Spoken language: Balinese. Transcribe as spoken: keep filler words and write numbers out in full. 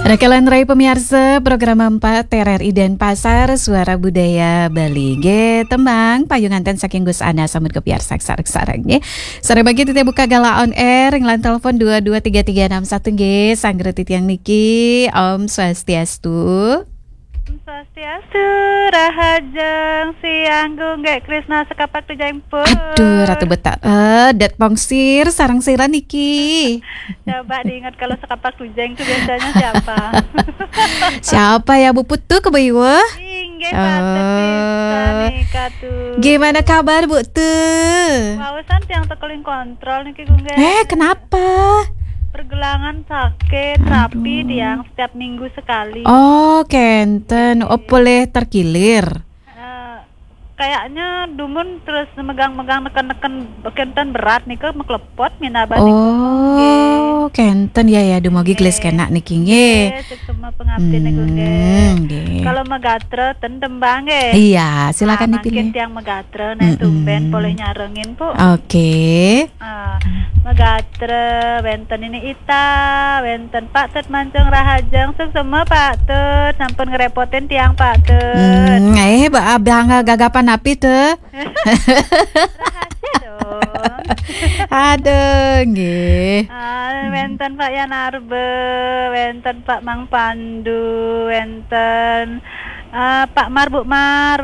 Rekelan rai pamiarsa program empat R R I Denpasar, Suara Budaya Bali. Nggih, tembang payunganten saking Gus Ana, sambut kepiarsa sareng-sareng nggih. Sore bagi titih buka galah on air, nglan telepon dua dua tiga tiga enam satu nggih, sanggra titiang niki. Om Swastiastu. Om Swastiastu, rahajeng siang Gunggek Krisna sekapak tujeng pun. Aduh, Ratu Betara, eh, det pongsir sareng sira niki. Coba diingat kalau sekapak tujeng itu biasanya siapa? Siapa ya, Bu Putu Kebewa? Inggih, patut pisan nika tuh. Gimana kabar, Bu Tu? Wausan tiang tekeling kontrol niki, Gunggek. Eh, kenapa? Pergelangan sakit, tapi tiang setiap minggu sekali. Oh, kenten. Oh, boleh terkilir. Eh, kayaknya dumun terus megang-megang, neken-neken, kenten berat nika, meklepot minaba nika. Oh, kenten ya, ya, dumugi gelis kenak niki nggih. Nggih, suksma pangapti niku nggih. Hmm, nggih. Kalau megatra ten tembang nggih. Iya, silakan dipilih. Mangkin tiang megatra, nah, tumben polih nyarengin, Bu. Oke. Ah, megatra, wenten Nini Ita, wenten Pak Tut Mancung, rahajeng, suksma Pak Tut, sampun ngerepotin tiang Pak Tut. Hmm, eh, ba-, abang gagapan api tuh? Rahasia dong. Aduh, nggih. Ah, wenten Pak Yan Arbe, wenten Pak Mang Pandu, wenten, ah, Pak Mar, Bu Mar,